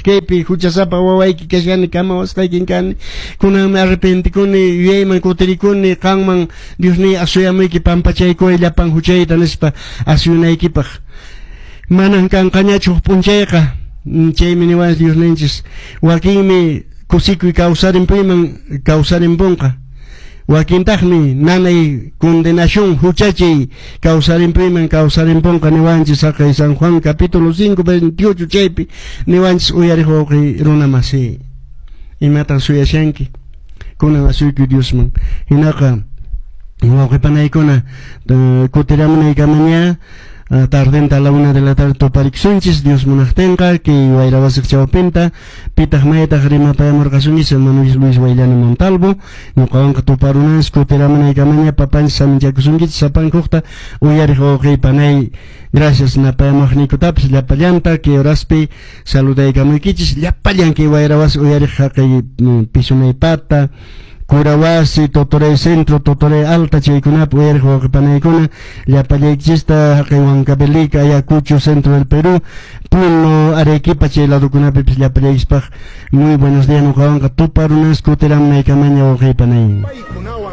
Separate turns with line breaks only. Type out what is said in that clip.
Kaypi huchasapa wawayki kashani, kamawasqaykin kani. Kunanmi arrepentikuni, yuyayman kutirikuni, qanman Diosniy asuyamuyki, pampachaykuway llapan huchayta nispa asuyunaykipaq. Manan kanqañachu huk p'unchayqa. Chaymi niwanchis Diosninchis. Wakinmi kusikuy kawsarimpuyman kawsarimpunqa. Wakintaqmi nanay condenación huchachay kawsarimpuyman kawsarimpunqa niwanchis haqay San Juan capítulo 5 28 chaypi niwanchis uyariq wawqi runa masi. Imatan suyashanki? Kunan asuykuy Diosman. Hinaqa wawqi panaykuna kutiramunaykamaña tardenta a la 1 de la tarde tuparikusunchis Dios munaqtinqa kay wayra wasiq chawpinta. Pitaq maytaq rimapayamurqasunchis hermano Luis Wayllana Montalvo. Ñuqawanqa tuparunanchis kutiramunaykamaña papanchis saminchakusunkichis sapankuqta uyariq wawqiy panay. Gracias napayamuqniykutapis llapallanta kay horaspi saludaykamuykichis llapallan kay wayra wasi uyariq haqay Pisunaypata, Curawasi, Totoray Centro, Totoray Alta chaykunapi uyariq wawqi panaykuna llapallaykichista haqay Huancavelica, Ayacucho, Centro del Perú, Puno, Arequipa chay ladokunapipis llapallaykispaq muy buenos días ñuqawanqa tuparunas kutiramunaykamaña wawqi panay.
Paykunawan